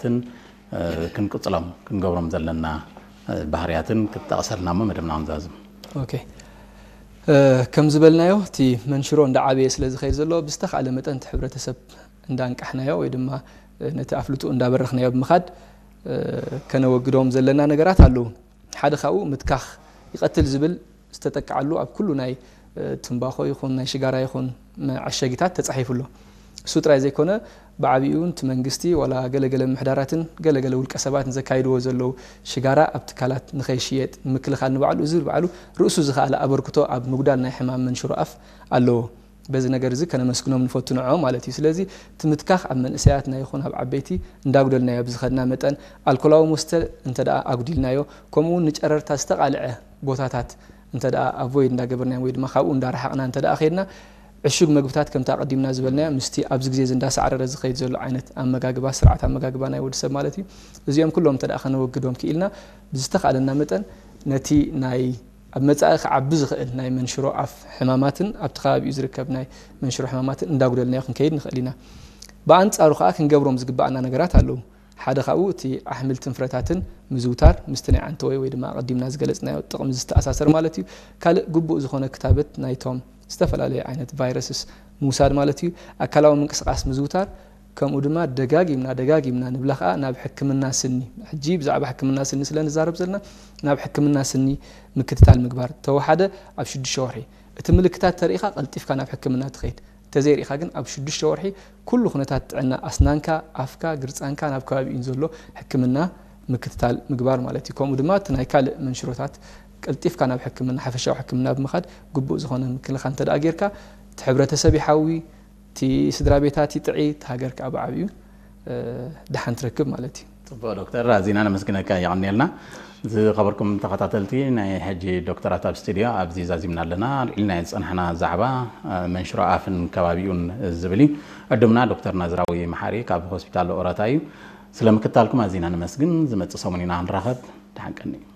ትን ክንቅፅሎም ክንገብሮም ዘለና ባህርያትን ክትጠቕሰልና እሞ መደብና ክንዛዝም። ኦኬ። ከም ዝበልናዮ እቲ መንሽሮ እንዳዓበየ ስለ ዝኸይድ ዘሎ ብዝተኻእለ መጠን እቲ ሕብረተሰብ እንዳንቃሕናዮ ወይ ድማ ነቲ ኣፍልጡ እንዳበረኽናዮ ብምኻድ ከነወግዶም ዘለና ነገራት ኣለዉ። ሓደ ካብኡ ምትካኽ ይቐትል ዝብል ዝተጠቅዓሉ ኣብ ኩሉ ናይ ትንባኾ ይኹን ናይ ሽጋራ ይኹን መዐሸጊታት ተፃሒፉ ኣሎ። እሱ ጥራይ ዘይኮነ ብዓብኡ እቲ መንግስቲ ዋላ ገለገለ ምሕዳራትን ገለገለ ውልቀ ሰባትን ዘካይድዎ ዘለዉ ሽጋራ ኣብ ትካላት ንኸይሽየጥ ንምክልኻል ንባዕሉ እዚ ባዕሉ ርእሱ ዝኸኣለ ኣበርክቶ ኣብ ምጉዳል ናይ ሕማም መንሽሮ ኣፍ ኣለዎ። በዚ ነገር እዚ ከነመስግኖም ንፈቱ ንዕኦም ማለት እዩ። ስለዚ እቲ ምትካኽ ኣብ መንእሰያትና ይኹን ኣብ ዓበይቲ እንዳጉደልናዮ ብዝኸድና መጠን ኣልኮላዊ መስተ እንተ ደኣ ኣጉዲልናዮ ከምኡ እውን ንጨረርታ ዝተቓልዐ ቦታታት እንተ ደኣ ኣቮይድ እንዳገበርናዮም ወይ ድማ ካብኡ እንዳረሓቕና እንተ ደኣ ከይድና ዕሹግ መግብታት ከምቲ ኣቐዲምና ዝበልናዮ ምስቲ ኣብዚ ግዜ እዚ እንዳሳዕረረ ዝኸይድ ዘሎ ዓይነት ኣመጋግባ ስርዓት ኣመጋግባ ናይ ወዲ ሰብ ማለት እዩ። እዚኦም ኩሎም እንተ ደኣ ከነወግዶም ክኢልና ብዝተኻእለና መጠን ነቲ ናይ ኣብ መጻኢ ክዓቢ ዝኽእል ናይ መንሽሮ ኣፍ ሕማማትን ኣብቲ ከባቢኡ ዝርከብ ናይ መንሽሮ ሕማማትን እንዳጉደልናዮ ክንከይድ ንኽእል ኢና። ብኣንጻሩ ከኣ ክንገብሮም ዝግባኣና ነገራት ኣለዉ። ሓደ ካብኡ እቲ ኣሕምልትን ፍረታትን ምዝውታር ምስቲ ናይ ዓንተወይ ወይ ድማ ኣቐዲምና ዝገለጽናዮ ጥቕሚ ዝተኣሳሰር ማለት እዩ። ካልእ ግቡእ ዝኾነ ክታበት ናይቶም ዝተፈላለዩ ዓይነት ቫይረስስ ምውሳድ ማለት እዩ። ኣካላዊ ምንቅስቓስ ምዝውታር ከምኡ ድማ ደጋጊምና ደጋጊምና ንብላ ከዓ ናብ ሕክምና ስኒ ሕጂ ብዛዕባ ሕክምና ስኒ ስለ ንዛረብ ዘለና ናብ ሕክምና ስኒ ምክትታል ምግባር ተወሓደ ኣብ ሽዱሽተ ወርሒ እቲ ምልክታት ተሪኢኻ ቀልጢፍካ ናብ ሕክምና ትኸይድ እንተዘይሪኢኻ ግን ኣብ ሽዱሽተ ወርሒ ኩሉ ኩነታት ጥዕና ኣስናንካ ኣፍካ ግርፃንካ ናብ ከባቢኡን ዘሎ ሕክምና ምክትታል ምግባር ማለት እዩ ከምኡ ድማ እቲ ናይ ካልእ መንሽሮታት ቀልጢፍካ ናብ ሕክምና ሓፈሻዊ ሕክምና ብምኻድ ግቡእ ዝኾነ ምክልኻል እንተ ደኣ ጌርካ እቲ ሕብረተሰብ ይሓዊ እቲ ስድራ ቤታት ይጥዒ እቲ ሃገር ከዓ ብዓብዩ ደሓን ትረክብ ማለት እዩ። ፅቡቅ ዶክተር ኣዚና ነመስግነካ የቐንየልና። ዝኸበርኩም ተኸታተልቲ ናይ ሕጂ ዶክተራት ኣብ ስቱድዮ ኣብዚ ዛዚምና ኣለና ልዕሊ ናይ ዝፀናሕና ዛዕባ መንሽሮ ኣፍን ከባቢኡን ዝብል እዩ። ዕዱምና ዶክተር ናዝራዊ መሓሪ ካብ ሆስፒታል ኦረታ እዩ። ስለ ምክታልኩም ኣዚና ነመስግን። ዝመፅእ ሰሙን ኢና ክንራኸብ። ደሓን ቀኒ።